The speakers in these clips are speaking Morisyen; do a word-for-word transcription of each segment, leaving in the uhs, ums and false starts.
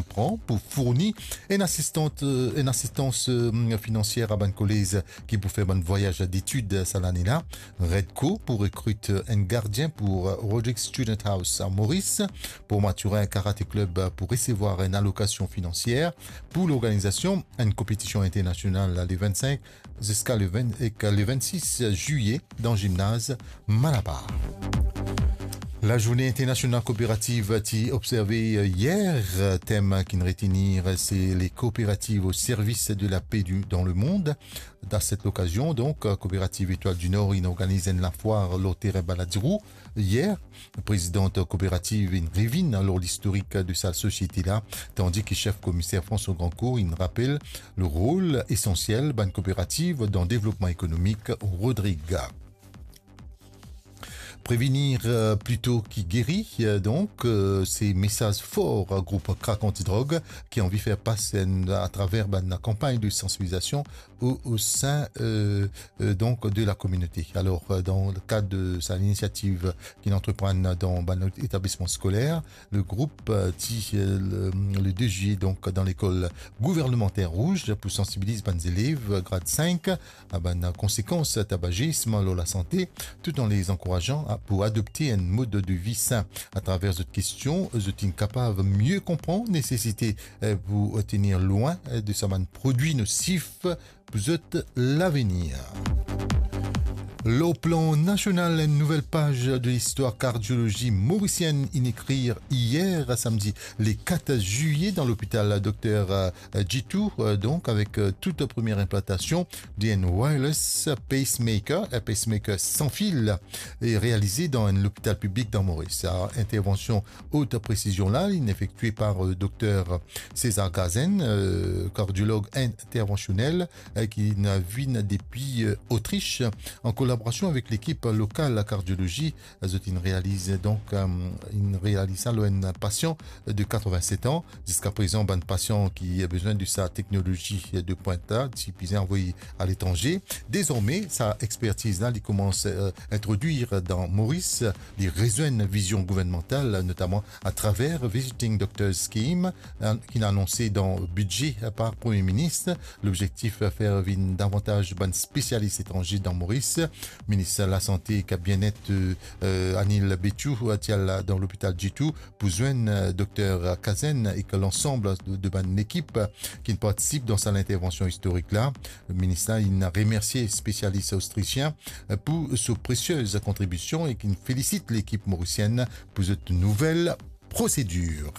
pran pou fourni enn asistant, eh, enn asistans, eh, finansier a bann kolez ki pou fer bann vwayaz detid sa lane la. Redco pou rekrit enn gardien pou Roderick Student House a Moris. Port Mathurin Karate Club pou resevwar enn alokasion finansier pou lorganizasion enn konpetision internasional le vennsenk ziska le ven, ek le vennsis zilye dan zimnaz Malabar. Lazourne internasional kooperativ ti observe yer. Tem ki'nn retenir, se les coopératives au service de la paix du, dans le monde. Dan set okazion, donk, Kooperativ Etwal di Nor inn organiz enn lafwar lor terin Ballads Rouge yer. Prezidan kooperativ inn revinn lor listorik de sa sosiete la, tandi ki sef komiser François Grandcourt inn rapel le rol esansiel bann kooperativ dan devlopman ekonomik Rodrig. Prévenir, euh, plito ki geri, euh, donk, euh, se mesaz for, euh, group Krak Anti Drog ki anvi fer pas enn, atraver bann kanpagn de sansibilizasion o, o sein, euh, euh, donk, de la kominote. Alor, euh, dan le kad de sa linisiativ ki'nn antreprann dan bann etablisman skoler, le group, euh, ti, euh, le, le de zilye, donk, dan lekol gouvernemanter Rouge pou sansibiliz bann zelev, euh, grad sink, a bann konsekans tabazism lor lasante, tout an les ankourazan a, pou adopte enn mod de vi sin. Atraver zot kestion, zot inn kapav mie konpran nesesite, eh, pou tenir lwin, eh, de sa bann prodwi nosif pou zot lavenir. Lor plan nasional, enn nouvel paz de listwar kardiolozi morisienn inn ekrir yer, samdi, le kat zilye, dan lopital Dokter, eh, Djitou, eh, donk, avek, eh, tout premie inplantasion de enn wireless pacemaker, un pacemaker san fil, e realize dan enn lopital piblik dan Moris. Sa intervansion ot presizion la, inn efektie par, eh, Dokter César Gazen, eh, kardiolog intervansionel, eh, ki inn vinn depi, eh, Otrich, an kolaborasion avek lekip lokal kardiolozi. Zot inn realiz, donk, eh, inn realiz sa lor enn pasian de katrevinset an. Ziska prezan, bann pasian ki bizin de sa teknolozi de pwint la, ti bizin anvoy aletranze. Dezorme, sa expertiz la, li koumans, eh, introdwir dan Moris, li rezwenn vizion gouvernmantal, notaman atraver Visiting Doctors Scheme, eh, ki inn anonse dan bidze par Premie Minis. Lobzektif, eh, fer vinn davantaz bann spesialis etranze dan Moris. Minis Lasante ek Bienet, eh, eh, Anil Betiou, eh, ti al dan lopital Djitou pou zwenn, eh, Dokter Gazen ek lansam de, de bann lekip, eh, ki partisip dan sa intervansion istorik la. Minis la inn remersie spesialis ostrisien, eh, pou so presiez kontribision e ki felisit lekip morisienn pou zot nouvel prosedir.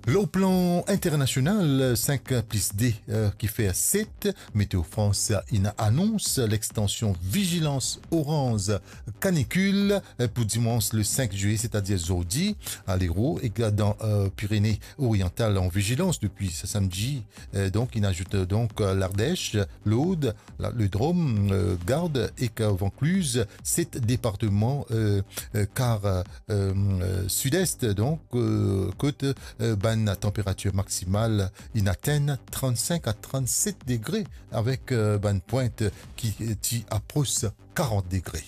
Lor plan internasional, sink plis de, eh, ki fer set, Météo France inn anons lextansion vizilans oranz kanikil, eh, pou dimans le sink zilye, setadir zordi, a Lero, e dan, eh, Pirene Oriantal an vizilans depi samdi, eh, donk, inn azout, eh, donk, eh, Lardesh, Lord, la, le Drom, eh, Gard ek Vankliz, set departman, eh, eh, kar, eh, eh, sidest, donk, eh, kot, eh, bann tanperatir maksimal inn atenn trannsink a trannset degre, avek, eh, bann pwint ki, eh, ti apros karant degre.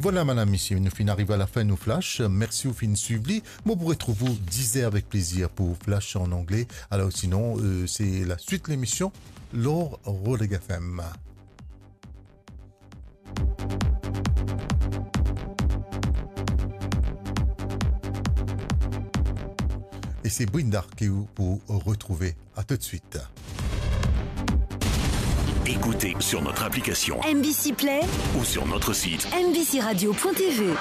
Vwala, madam, misie, nou finn ariv a lafin nou flash. Mersi ou finn swiv li. Mo pou retrouv ou diz er avek plezir pou flash an angle. Alor, sinon, eh, se laswit lemision lor Rodrig F M. E se Brinda ki ou pou retrouve. A tout de suit. Écoutez sur notre application M B C Play ou sur notre site M B C radio point T V.